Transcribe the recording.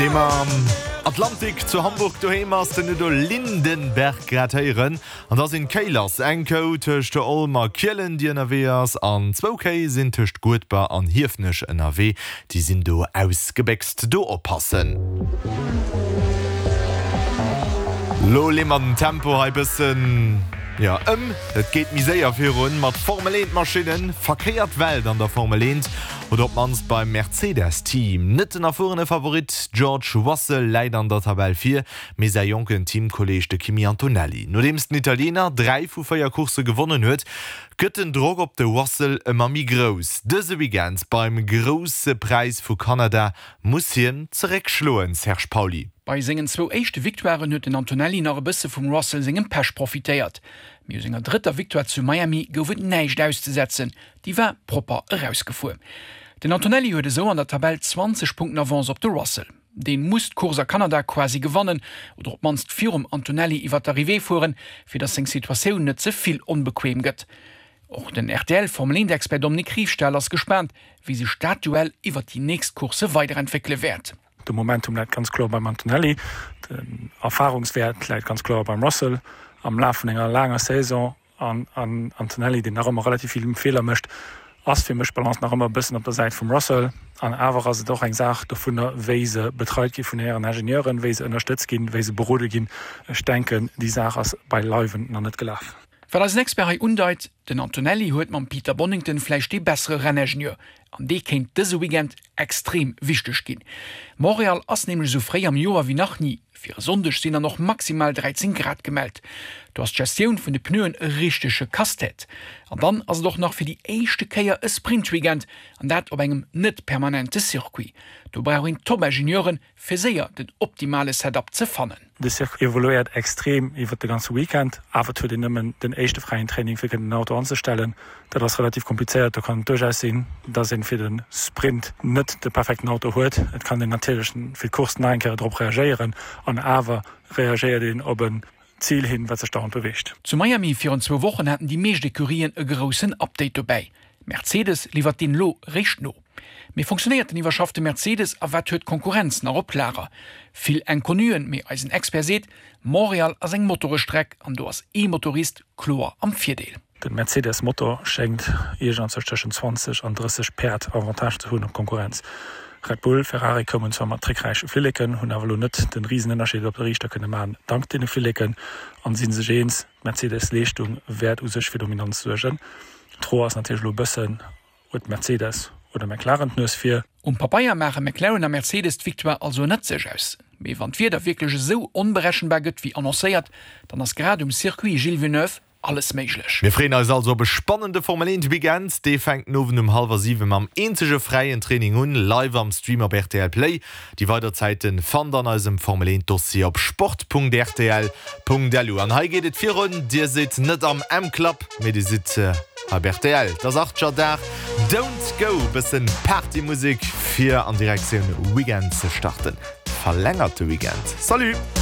Deem am Atlantik zu Hamburg doheem ass, den Udo Lindenberg grad héieren. An da sinn d'Kéi lass. Eng Kou tëscht Olm a Kielen, déi ënnerwee ass, an zwou Kéi sinn tëscht Guedber an Hiefenech ënnerwee. Déi sinn do ausgebéchst. Do oppassen. Lo leeë mer den Tempo hei bëssen, jo, ëm. Et geet méi séier virun mat Formel 1 Maschinnen. Verkéiert Welt an der Formel 1. Oder op d'mannst beim Mercedes-Team. Net den erfuerene Favorit George Russell läit an der Tabell vir, mee säi jonken Teamkolleeg de Kimi Antonelli. Nodeems den Italiener 3 vu 4 Coursse gewonnen huet, gëtt den Drock op de Russell ëmmer méi grouss. Dëse Weekend beim Grousse Präis vu Kanada muss hien zeréckschloen, Serge Pauly. Bei sengen zwou éischte Victoiren huet den Antonelli nach e bësse vum Russell sengem Pech profitéiert. Mee u senger drëtter Victoire zu Miami gouf et näischt auszesetzen, Déi war propper erausgefuer. Den Antonelli huet esou an der Tabell 20 Punkten Avance op de Russell. Deen muss d'Course a Kanada quasi gewannen oder op d'mannst virum Antonelli iwwer d'Arrivée fueren, fir datt seng Situatioun net ze vill onbequem gëtt. Och den RTL-Formel-Eent-Expert Dominique Riefstahl ass gespaant, wéi sech dat Duell iwwer déi nächst Coursse weiderentwéckele wäert. De Momentum läit ganz kloer beim Antonelli, den Erfarungswäert läit ganz kloer beim Russell. Am Laf vun enger laanger Saison An Antonelli, deen nach ëmmer relativ vill Feeler mécht, ass fir mech d'Balance nach ëmmer e bëssen op der Säit vum Russell. An awer ass et och eng Saach dovunner, wéi se betreit gi vun hiren Ingenieuren, wéi se ënnerstëtzt ginn, wéi se berode ginn. Ech denken, déi Saach ass beileiwen nach net gelaf. Wat eisen Expert hei undeit, Den Antonelli huet mam Peter Bonnington vläicht dee bessere Renningenieur, an dee kéint dëse Weekend extrem wichteg ginn. Montréal ass nämlech esou fréi am Joer wéi nach ni. Fir e Sonndeg sinn dann och maximal 13 Grad gemellt. Do ass d'Gestioun vun de Pneuen e richtege Casse-tête. An dann ass et och nach fir déi éischte Kéier e Sprint-Weekend, an dat op engem net permanente Circuit. Do brauch een Top-Ingenieuren, fir séier den optimale Setup ze fannen. De Circuit evoluéiert extrem iwwert de ganze Weekend, awer et huet een nëmmen den éischte fräien Training fir kënnen den Auto anzestellen. Dat ass relativ komplizéiert. Do kann et duerchaus sinn, dass een fir de Sprint net de perfekten Auto huet. Et kann een natierlech fir d'Course nach eng Kéier drop reagéieren an awer reagéiert een op en Zil hin, wat sech dauernd beweegt. Zu Miami virun zwou Wochen haten déi meescht Ecurien e groussen Update dobäi. Mercedes liwwert deen elo réischt no. Mee funktionéiert den iwwerschaffte Mercedes a wat huet d'Konkurrenz nach op Lager? Vill Inconnuen, mee eisen Expert seet, Montreal ass eng Motorestreck an do ass ee Motorist kloer am Virdeel. De Mercedes Motor schéngt iergendzwousch tëschent 20 an 30 Päerd Avantage ze hunn op d'Konkurrenz. Red Bull, Ferrari koumen zwar mat trickräiche Flilleken, hunn awer elo net den Risenënnerscheed op de Riichter kënne maachen dank deene Flilleken an si sech eens, d'Mercedes Leeschtung wäert u sech fir Dominanz suergen. D'Fro ass natierlech elo e bëssen, Huet Mercedes oder McLaren d'Nues vir? Um Pabeier maache McLaren a Mercedes d'Victoire also ënnert sech aus. Mee wann d'Wieder wierklech esou onberechenbar gëtt wéi annoncéiert, dann ass grad um Circuit Gilles Villeneuve alles méiglech. Mir freeën eis also op e spannende Formel 1 Weekend. Dee fänkt den Owend um hallwer 7 mam eenzege fräien Training un, live am Stream op rtl Play. Déi weider Zäiten fannt an eisem Formel 1 Dossier op sport.rtl.lu. An hei geet et virun, dir sidd net am M-Club, mee dir sidd hei op rtl. Et ass Archer-Dag, Don't Go, bëssen Partymusek fir an Direktioun Weekend ze starten. Verlängerte Weekend. Salut!